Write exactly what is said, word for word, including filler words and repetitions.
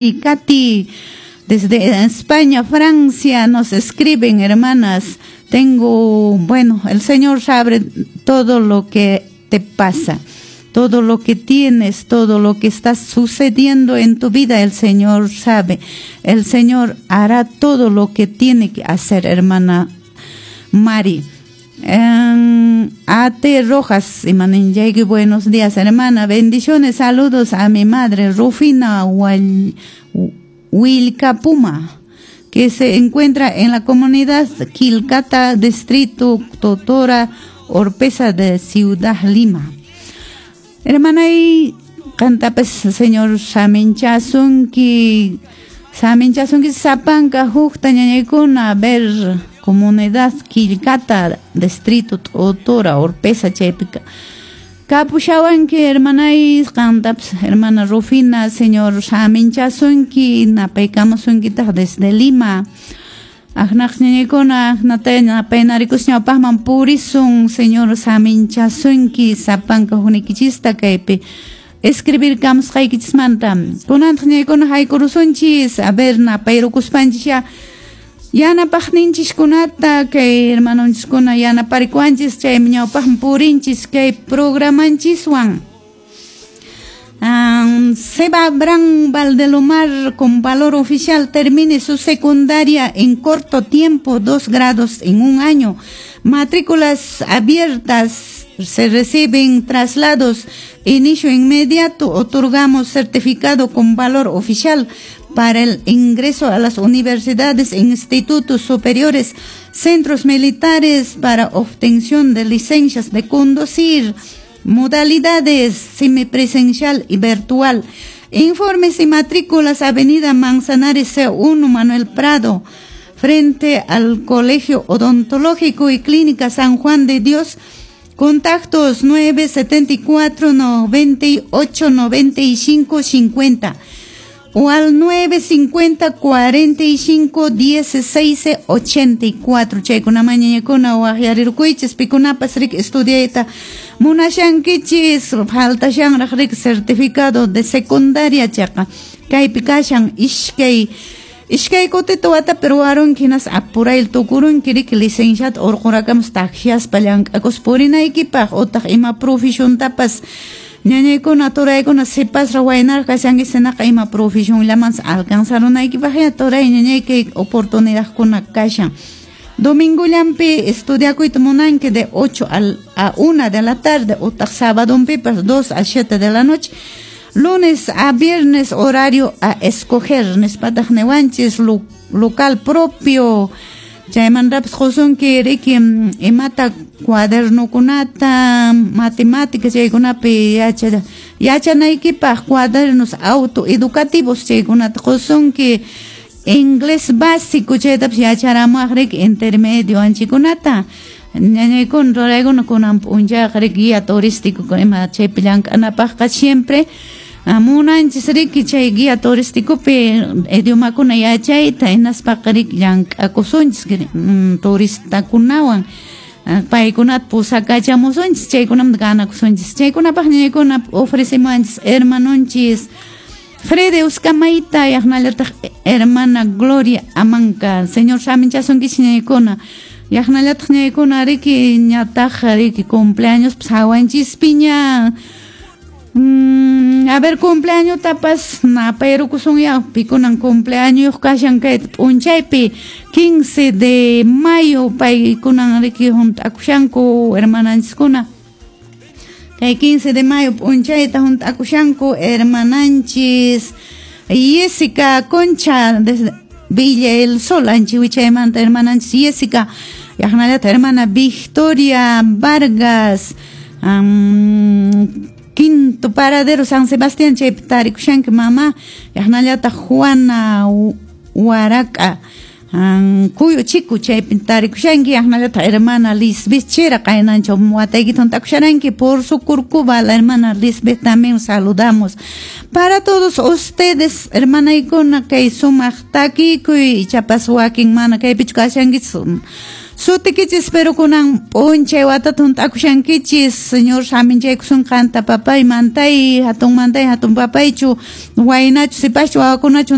Y Katy, desde España, Francia, nos escriben, hermanas. Tengo, bueno, el Señor sabe todo lo que te pasa, todo lo que tienes, todo lo que está sucediendo en tu vida, el Señor sabe. El Señor hará todo lo que tiene que hacer, hermana Mari. A T. Rojas, y buenos días, hermana. Bendiciones, saludos a mi madre, Rufina Wilcapuma, que se encuentra en la comunidad Quilcata, distrito Totora, Orpesa de Ciudad Lima. Hermana, y qantapas Señor saminchasunki, saminchasunki sapanka hukta ñañaykuna, ver comunidad Quilcata, distrito Totora, Orpesa, chaypika. Kapushawanki, hermanay, qantapas hermana Rufina, Señor saminchasunki, napaykamusunkitaq desde Lima. Aqnaq ñañaykuna, aqnata napaynarikus ñawpaqman purisun, Señor saminchasunki, sapanka hukniykichista kaypi escribir kamusqaykichismanta. Kunantaq ñañaykuna haykurusunchis, a ver, napayrukuspanchis ya yanapaqninchiskunata, kay hermanonchiskuna yanaparikuanchis, chaymi ñawpaqman purinchis kay programanchiswan. Um, Seba Abraham Valdelomar, con valor oficial, termine su secundaria en corto tiempo, dos grados en un año. Matrículas abiertas, se reciben traslados, inicio inmediato, otorgamos certificado con valor oficial para el ingreso a las universidades, institutos superiores, centros militares para obtención de licencias de conducir, modalidades semipresencial y virtual. Informes y matrículas, Avenida Manzanares C uno, Manuel Prado, frente al Colegio Odontológico y Clínica San Juan de Dios. Contactos nueve setenta y cuatro noventa y ocho noventa y cinco cincuenta o al nueve cincuenta cuarenta y cinco dieciséis ochenta y cuatro. Chaykuna mañañakuna waqyarirkuychis, pikunapas rik estudiayta munashankichis, faltashanraq rik certificado de secundaria chaqa kaypi kashan ishkay ishkay kutita watapi ruwarunki hinas apurayl tukurunki rik licenciata urqurakamus takshiaspa llank'akus purinaykipaq utaq ima profesiontapas ñañaykuna turaykuna sipasraq waynaraq kashanki sinaqa ima profesionllamantas alcanzarunaykipaq ya turay ñañay kay oportunidadkuna kashan. Domingo llampi estudiakuyta munanki de ocho al, a una de la tarde utaq sabadonpipas dos a siete de la noche. Lunes a viernes horario a escoger nispataq niwanchis lo, local propio. Chaymantapas qusunki riki imata cuadernokunata matemáticas chaykunapi yacha yachanaykipaq cuadernos autoeducativos chaykunata qusunki inglés básico chaytapas yacharamuwaq riki intermedio anchikunata. Ñañaykuna ruraykuna kunan p'unchayqa riki guía turístico ima chaypi llank'anapaqqa siempre munanchis riki chay guía turísticopi idiomakuna yachayta hinaspaqa riki llank'akusunchis turistakunawan paykunata pusakachamusunchis chaykunamanta ganakusunchis chaykunapaq ñañaykuna ofrecemuwanchis hermanonchis Freddy Uscamayta yaqnallataq hermana Gloria Amanca. Señor saminchasunkichis ñañaykuna yaqnallataq ñañaykuna riki ñataq riki cumpleaños hawanchispiña. Mm, a ver, cumpleaños tapas napayrukusun ya pikunan cumpleaños kashan kay p'unchaypi quince de mayo paykunan riki hunt'akushanku hermananchiskuna kay quince de mayo p'unchayta hunt'akushanku hermananchis Jessica Concha desde Villa El Sol anchiwichaymanta hermananchis Jessica yaqnallata hermana Victoria Vargas um, Quinto Paradero San Sebastián chaypi tarikushanki mama yaqnallata Juana Huaraca Cuyo Chico chaypi tarikushanki yaqnallata hermana Lisbeth Chera qaynanchaw wataykita hunt'akusharanki por su curcuba la hermana Lisbeth también saludamos. Para todos ustedes hermanaykuna kay sumaq takikuy ichapas wakin mana kaypichu kashankichis Sutikichis pero kunan p'unchay watata hunt'akushankichis, Señor saminchaykusun qanta papay mantay, hatun mantay, hatun papaychu, waynachu, sipaschu, wawakunachu.